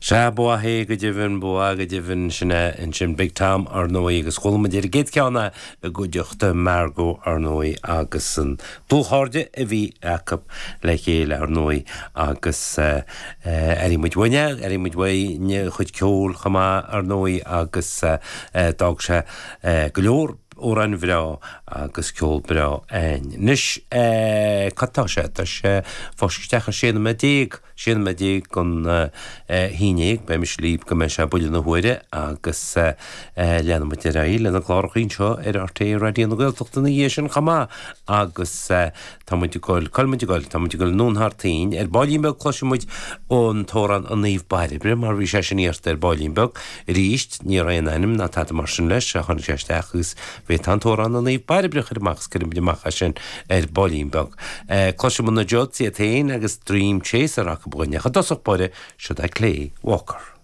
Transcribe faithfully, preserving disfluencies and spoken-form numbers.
Sea, ba mhaith é go deimhin, ba mhaith go deimhin sin é ansin Big Tom ar ndóigh agus chuala muid ar an gcéad cheann é i gcuideachta Margo ar ndóigh agus an dlúthchairde a bhí acu le chéile ar ndóigh agus airigh muid uaidh, airigh muid uaidh a chuid ceoil chomh maith ar ndóigh agus d'fhág sé go leor amhráin bhreá agus ceol breá againn. Anois cad tá sé? Tá sé fós isteach ar sé nóiméad déag, sé nóiméad déag don haon déag, beidh mise libh go mbeidh sé buille na huaire agus leanfaidh muid ar aghaidh lena gcláracha anseo ar RTÉ Raidió na Gaeltachta ina dhiaidh sin chomh maith agus tá muid ag goil, cá bhfuil muid ag goil, tá muid ag goil anonn thar toinn ar baillín beag cloisfidh muid an t-amhrán An Naomh Bairbre mar bhí sé sin iarrta ar baillín beag arís ní raibh aon ainm ná tada mar sin leis a tháinig sé isteach agus bhí tá an t-amhrán An Naomh Bairbre a chur amach is cuirfidh muid amach é sin ar baillín beag. Cloisfidh muid na Judds iad féin agus Dream Chaser acu againn ach i dtosach báire, siod é Clay Walker.